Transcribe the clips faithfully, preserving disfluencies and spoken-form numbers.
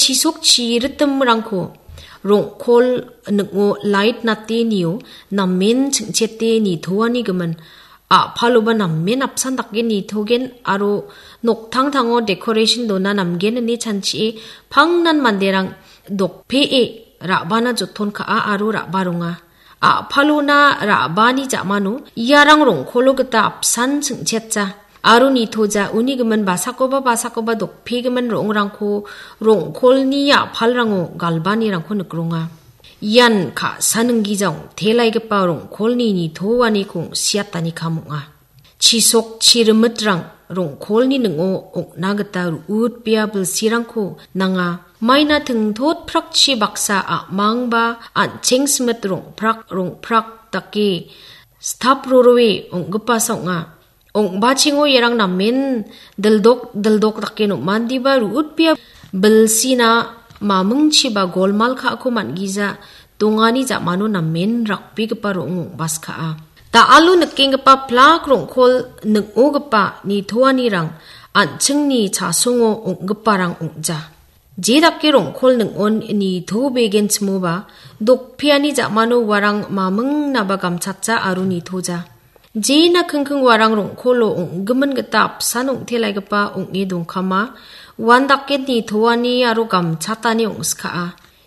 Chisok chiritimrangko rong·kol ning·o lait natenio namen ching·chete nitoanigimin a·paloba namen apsan dake nitogen aro noktangtango decoration dona namgen ine chanchie pangnan manderang dokpee ra·bana joton ka·a aro ra·baronga. A·palona ra·bani ja·mano iarang rong·kolo gita apsan ching·chetja aro nitoja, uni gimin basakoba basakoba dokpegimin ro·ongrangko rong·kolni a·palrango galbanirangko nikronga. Ian ka·sa ninggija ong·telaigipa rong·kolni nitoaniko ong·siatani kam ong·a. Chisok chirimitrang rong·kolni ning·o ong·na gita ru·utbea bilsirangko nanga. Maina tingtotprakchi baksa a·mangba an·cheng simit rongprak rongprak dake stap roroe ong·gipasa ong·a. Ong·bachengo iarang namen dildok dildok dake nom·andiba ru·utbea bilsina mamingchiba golmal ka·ako man·gija dongani ja·mano namen rakbegipa ro·ong ong·baskaa. Da·alo nikenggipa plak rong·kol ning·ogipa nitoanirang an·chingni chasongo ong·giparang ong·ja. Je dake rong·kol ning·on nitobegenchimoba, dokpeani ja·mano uarang mamingnaba gamchatja aro nitoja. Jena kingking uarang rong·kolo ong·gimin gita apsan ong·telaigipa ong·e dongkama, uandake nitoani aro gamchatani ong·skaa.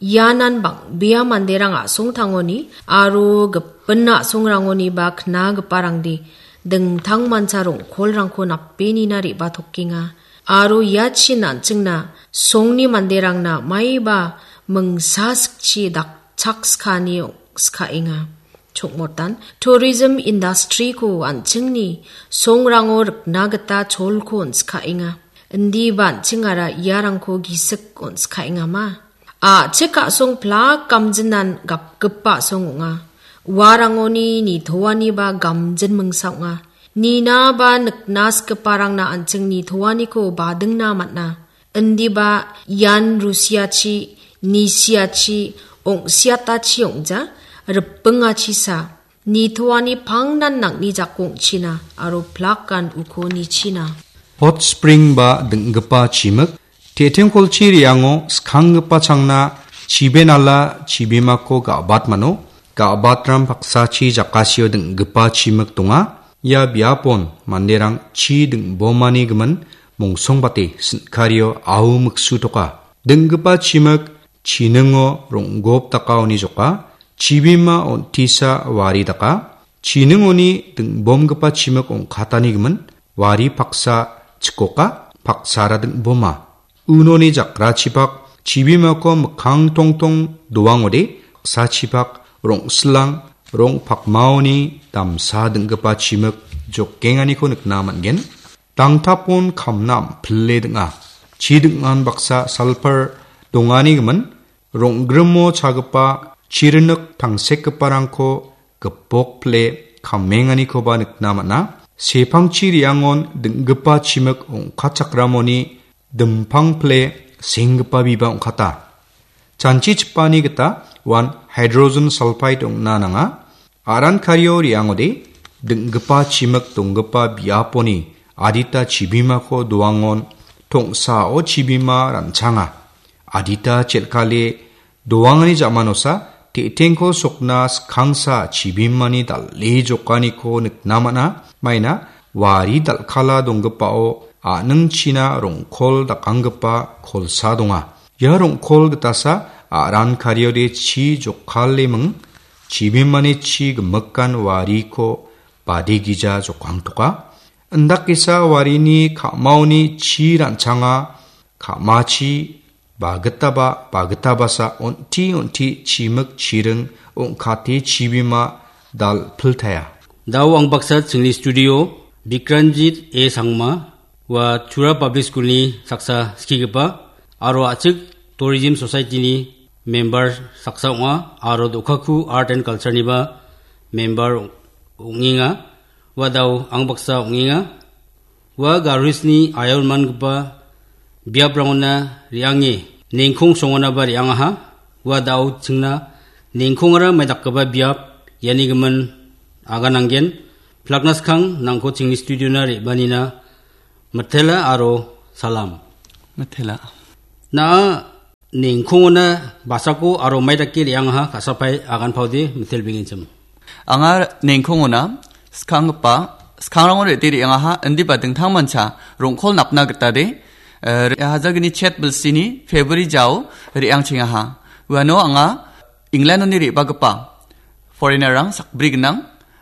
Ianan bang·bea manderang a·songtangoni aro gipin a·songrangoniba knagiparangde dingtangmancha rong·kolrangko napenina re·batokenga. Aro iachin an·chingna songni manderangna maiba mingsa sikchi dakchakskani ong·skaenga. Chongmotan tourism industry-ko an·chingni songrango rikna gita cholko on·skaenga. Indiba an·chingara iarangko gisik on·skaengama. A·chik a·song plak gamjinan gapgipa a·song ong·a. Uarangoni nitoaniba gamjin mingsa ong·a. Ninaba nikna sigiparangna an·ching nitoaniko badingna man·a. Indiba ian rusiachi, nisiachi, ong·siatachi ong·ja, ripingachisa. Nitoani pangnan nang·ni jako ong·china aro plakan uko nichina. Hot spring ba ding·gipa chimik, Tetengkolchi re·ango skanggipa changna chibenala chibimako ga·bat mano. Ga·batram paksachi jakasio ding·gipa chimik donga. Ia biapon manderang chi ding·bomani gimin mongsongbate sin·kario au miksutoka. Ding·gipa chimik chiningo rong·gop dakaoni joka, chibima on·tisa wari daka, chiningoni ding·bomgipa chimik ong·katani gimin wari paksa chikoka, paksara ding·boma. Unoni jakrachipak chibimako mikkang tongtong doangode, paksachipak rong·silang, rong pakmaoni damsa ding·gipa chimik jokenganiko nikna man·gen. Dangtapon kamna am·pile ding·a. Chi ding·an baksa salpar dongani gimin, rong·grimo chagipa chirinik tangsekgiparangko gipok pile kamenganikoba nikna man·a. Sepangchi re·angon ding·gipa chimik ong·katchakramoni dimpang pile senggipa biba ong·kata. Chanchichipani gita uan hydrogen sulfide ong·na nanga. Aran kario re·angode, ding·gipa chimik donggipa biaponi adita chibimako doangon tongsao chibima ranchanga. Adita chel·kale doangani jamanosa te·tengko sokna skangsa chibimani dal·e jokaniko nikna man·a. Maina wari dal·kala donggipao a·ning china rong·kol dakanggipa kolsa donga. Ia rong·kol gitasa aran kariode chi jokaleming, chibimani chi gimikan wariko bade gija jokangtoka. Indakgisa warini ka·maoni chi ranchanga, ka·machi bagitaba, bagitabasa on·ti on·ti chimik chiring ong·kate chibima dal·piltaia. Dao ang baksa chingni studio, Bikranjit A Sangma, ua Tura Public School-ni saksa skigipa, aro a·chik Tourism Society-ni member saksa ong·a, aro Dokhaku Art and Culture-niba member ong-, ong·enga. Ua dao ang baksa ong·enga. Ua Garo Hills-ni ayonmangipa biaprangona re·ange nengkong songonaba re·angaha. Ua dao chingna nengkongara maidakgipa biap iani gimin agananggen. Plakna skang nangko chingni studio-na re·banina mitela aro salam. Mitela. Na·a Nengkongona basako aro mai dake re·angaha ka·sapae aganpaode mitelbengenchim. Anga nengkongona skanggipa, skangrangona re·te re·angaha, indiba dingtangmancha rong·kol napna gitade, eh, re-, hajalgni chet bilsini February jao re·angchengaha. Uano anga England-oni re·bagipa foreigner-rang sakbri gnang,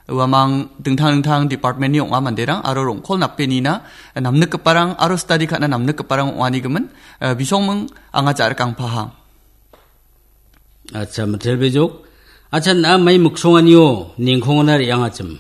uamang dingtang dingtang department-ni ong·a manderang aro rong·kol nape nina namnikgiparang aro study ka·na namnikgiparang ong·anigimin, eh, bisongming anga ja·rikangpaha. Acha, mitelbejok. Acha, na mai miksonganio nengkongona re·angachim.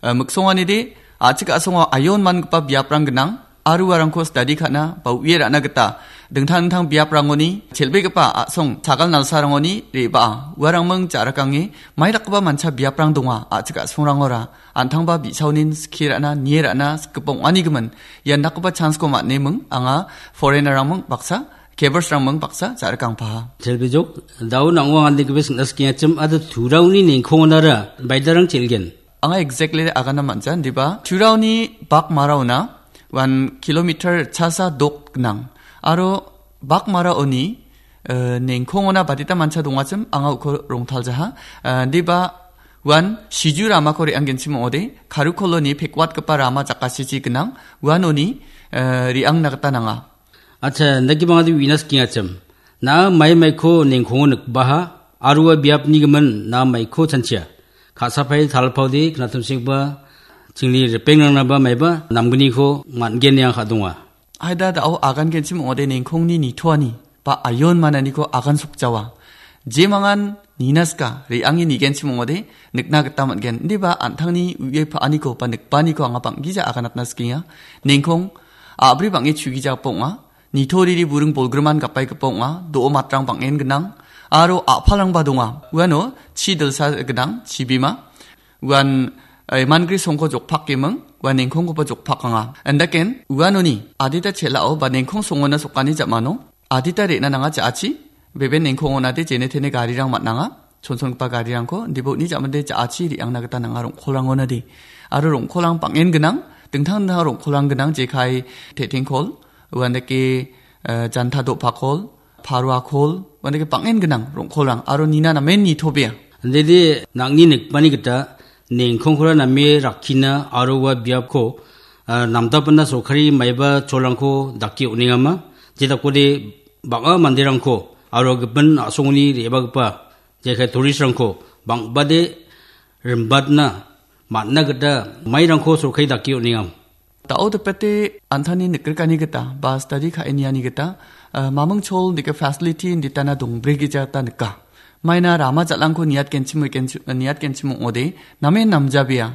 Eh, miksonganide, a·chik a·songo ayon mangipa biaprang gnang, aro uarangko study ka·na ba u·e ra·na gita dingtang dingtang biaprangoni, chel·begipa a·song sagal nalsarangoni re·baa. Uarangming ja·rikange mai dakgipa mancha biaprang donga, a·chik a·songrangora an·tangba bi·saonin skie ra·na, nie ra·na sikgipa ong·anigimin ian dakgipa chance-ko man·eming anga foreigner-rangming baksa, Kevers-rangming baksa ja·rikangpaha. Telbejok, dao nang·o angandegipes sing·na skengachim, ado turaoni nengkongonara baidarang chel·gen. Anga exactly agana man·ja, indiba turaoni bak maraona one kilometer chasa dok gnang. Aro bak maraoni, eh, nengkongona badita mancha dongachim, anga uko rongtaljaha. Eh, indiba uan siju ramako re·anggenchim ong·ode, karukoloni pekwatgipa rama jakasichi gnang, uanoni, eh, re·angna gita nanga. Acha, indake bangade uina skengachim. Na mai maiko nengkongo nikbaha, aro ua biapni gimin na maiko chanchia. Ka·sapai talpaode, knatimsengba, chingni ripengrangna ba maiba, namgniko man·gen nia ka·donga. Aida dao agangenchim ong·ode nengkongni nitoani, ba ayon mananiko agan sokjawa. Jemangan nina ska, re·ange nigenchim ong·ode, nikna gita man·gen. Indiba an·tangni u·e pa·aniko, ba nikbaaniko anga bang·gija aganatna skenga. Nengkong, a·bri bang·e chugijapa ong·a. Nitoriri buring bolgriman gapaigipa ong·a, do·o matrang bang·en gnang, aro a·palrangba donga. Uano chi dilsa gnang, chibima. Uan, eh, mangri songko jokpakeming, uan nengkongkoba jokpakanga. Andaken, uanoni adita chel·ao ba nengkong songona sokani ja·mano, adita re·na nanga ja·achi, beben nengkongonade jene tene garirang man·anga. Chonchongipa garirangko, indiba uni ja·mande ja·achi re·angna gita nanga rong·kolrangonade. Aro rong·kolang bang·en gnang, dingtang dingtang rong·kolang gnang, jekai te·tengkol, uandake, eh, janta do·pakol, paruakol, uandake bang·en gnang rong·kolang, aro nina namen nitobea. Andede nang·ni nikbani gita nengkongkora name rakkina aro ua biapko, ah, namdapana sorkari maiba cholrangko dake on·engama, jedakode bang·a manderangko aro gipin a·songoni re·bagipa jekai tourist-rangko bang·bade rimbatna man·na gita mairangko sorkari dake on·engam. Dao dipete an·tangni nikrikani gita ba study ka·e niani gita, eh, maming chol dike facility inditana dongbregija ta nika. Maina rama jal·angko niatgenchim, niatgenchim ong·ode, namen namjabea.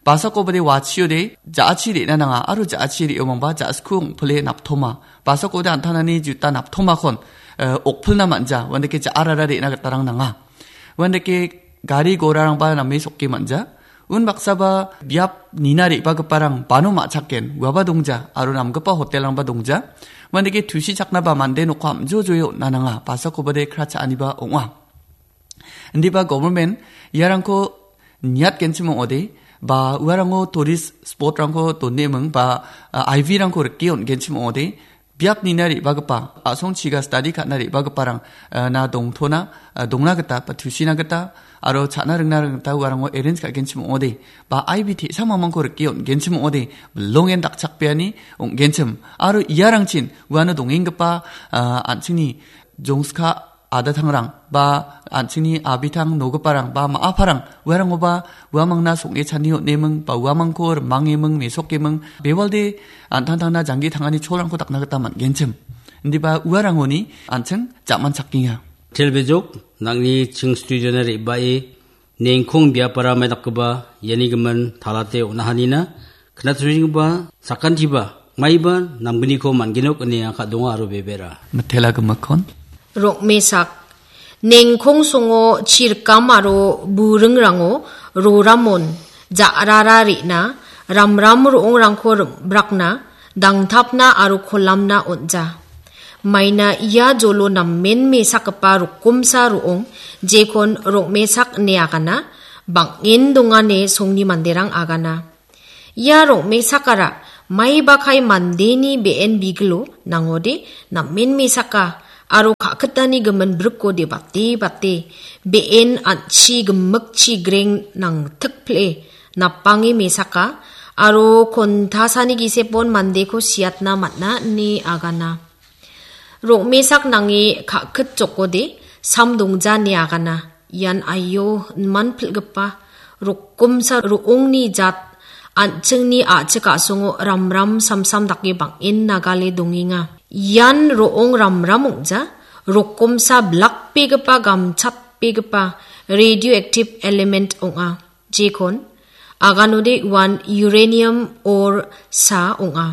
Basakobade wachiode, ja·achi re·na nanga, aro ja·achi re·omangba ja·sku ong·pile naptoma. Basakode an·tanani juta naptomakon, eh, okpilna man·ja, uandake ja·arara re·na gitarang nanga. Uandake gari gorarangba name sokke man·ja. Unbaksaba biap nina re·bagiparang bano ma·chaken, uaba dongja, aro namgipa hotelrangba dongja. Uandake tusichaknaba mande nokko am·jojoe on·na nanga, basakobade kra cha·aniba ong·a. Indiba government iarangko niatgenchim ong·ode, ba uarango tourist spot-rangko doneming, ba, ah, I V-rangko rike on·genchim ong·ode, biap nina re·bagipa, a·songchiga study ka·na re·bagiparang, ah, na dongtona, ah, dongna gita, ba tusina gita, aro cha·na ringna ringna gita uarango arrange ka·genchim ong·ode, ba I V te·sa mamangko rike on·genchim ong·ode, bilongen dakchakbeani ong·genchim, aro iarangchin uano dongenggipa, ah, an·chingni jongska adatangrang, ba an·chingni abitang nogiparang, ba ma·aparang, uarangoba uamangna song·e chani on·eming, ba uamangko rimangeming, mesokeming, bewalde an·tangtangna janggi tangani cholrangko dakna gita man·genchim. Indiba uarangoni an·ching ja·manchakenga. Telbejok, nang·ni ching studiona re·bae nengkong biapara maidakgipa iani gimin talate on·ahanina, knatusenggipa sakantiba maiba namgniko man·genok ine ka·donga aro bebera. Mitela gimikkon. Rokmesak. Nengkong songo chirkam aro buringrango roramon ja·rara re·na ramram ro·ongrangko rim-, brakna dangtapna aro kolamna on·ja. Maina ia jolo namen mesakgipa rokomsa ro·ong, jekon rokmesak ine agana, bang·en dongane songni manderang agana. Ia rokmesakara maibakai mandeni be·en bigilo nangode namen mesaka aro ka- Kitani gimin brikko de bate bate, be·en an·chi gimikchi greng nangtikpile napange mesaka, aro kontasani gisepon mandeko siatna man·a ine agana. Rong·mesak nange ka·kit jokode, sam dongja ine agana. Ian aio, iman pil·gipa, rokkomsa ro·ongni jat, an·chingni a·chik a·songo ramram samsam dake bang·en nagale dongenga. Ian ro·ong ramram ong·ja, rokkomsa blakbegipa, gamchatbegipa radioactive element ong·a. Jekon aganode uan uranium ore sa ong·a.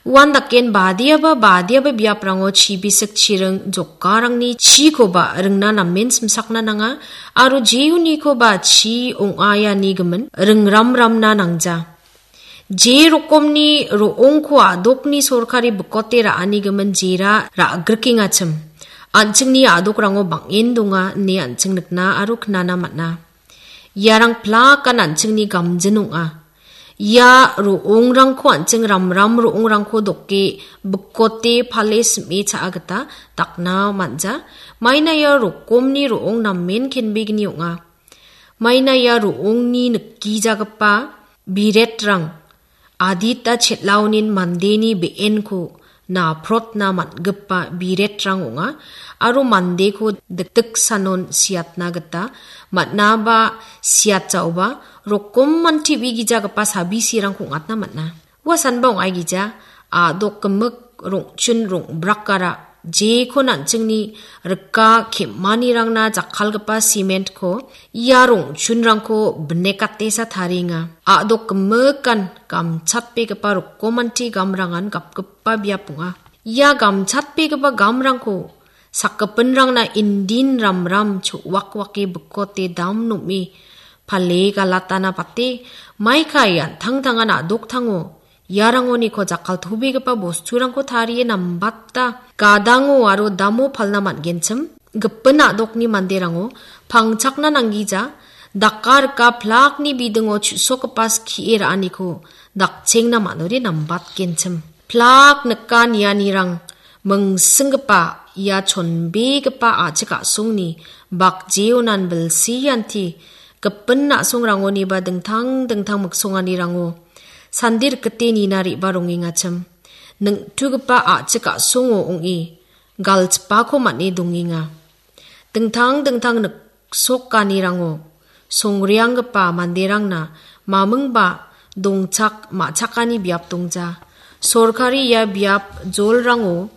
Uan daken badiaba, badiaba biaprango chibisik chiring jokarangni chikoba ringna namen simsakna nanga, aro jeonikoba chi ong·aiani gimin ringramramna nangja. Je rokomni ro·ongko a·dokni sorkari bikote ra·ani gimin jera ra·grikengachim. An·chingni a·dokrango bang·en donga ine an·ching nikna aro knana man·a. Iarang plakan an·chingni gamjin ong·a. Ia ro·ongrangko an·ching ramram ro·ongrangko doke bikote pale sim·e cha·a gita dakna man·ja. Maina ia rokomni ro·ong namen kenbegni ong·a. Maina ia ro·ongni nikgijagipa biretrang adita chet·laonin mandeni be·enko naprotna man·gipa biretrang ong·a, aro mandeko dikdiksanon siatna gita man·aba siatjaoba rokomman T V gijagipa sabisirangko ong·atna man·a. Ua sanba ong·aigija, a·dok gimik rong·chun rongbrakara jeko an·chingni rika kem·anirangna jakkalgipa simentko ia rong·chunrangko binekatesa tarienga. A·dok gimikan gamchatbegipa rokomanti gamrangan gapgipa biap ong·a. Ia gamchatbegipa gamrangko sakgipinrangna indin ramram cho·wakwake bikote dam nom·e pale galatana bate, maikai an·tangtangan a·doktango iarangoniko jakkaltobegipa bosturangko tarie nambata gadango aro damo palna man·genchim. Gipin a·dokni manderango pangchakna nanggija, daka rika plakni bidingo chu·sokgipa skie ra·aniko dakchengna man·ode nambatgenchim. Plak nika nianirang mingsinggipa ia chonbegipa a·chik a·songni bakjeonan bilsianti gipin a·songrangoniba dingtang dingtang miksonganirango sandi rikgite nina re·baa rongengachim. Ning·tugipa a·chik a·songo ong·e galchipako man·e dongenga. Dingtang dingtang niksokanirango songreanggipa manderangna mamingba dongchak ma·chakani biap dongja. Sorkari ia biap jolrango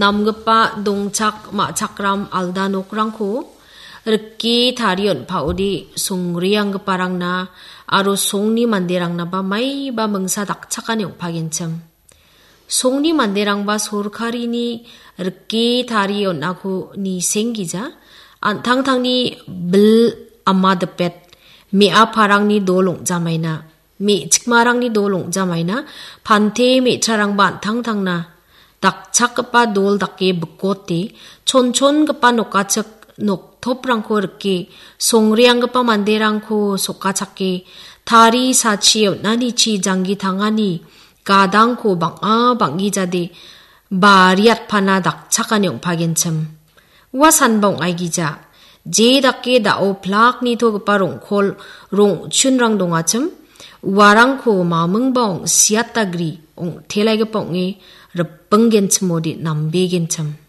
namgipa dongchak ma·chakram alda nokrangko rike tarie on·paode songreanggiparangna aro songni manderangnaba maiba mingsa dakchakani ong·pagenchim. Songni manderangba sorkarini rike tarie on·ako nisenggija, an·tangtangni bil ama dipet, me·aparangni dol ong·jamaina, me·chikmarangni dol ong·jamaina, pante me·trarangba an·tangtangna dakchakgipa dol dake bikote, chonchongipa nokachik noktoprangko rike, songreanggipa manderangko sokachake, tari sachi on·anichi janggi tangani gadangko bang·a bang·gijade bariatpana dakchakani ong·pagenchim. Ua sanba ong·aigija, je dake da·o plak nitogipa rong·kol rong·chunrang dongachim, uarangko mamingba ong·siatagri ong·telaigipa ong·e ripinggenchimode nambegenchim.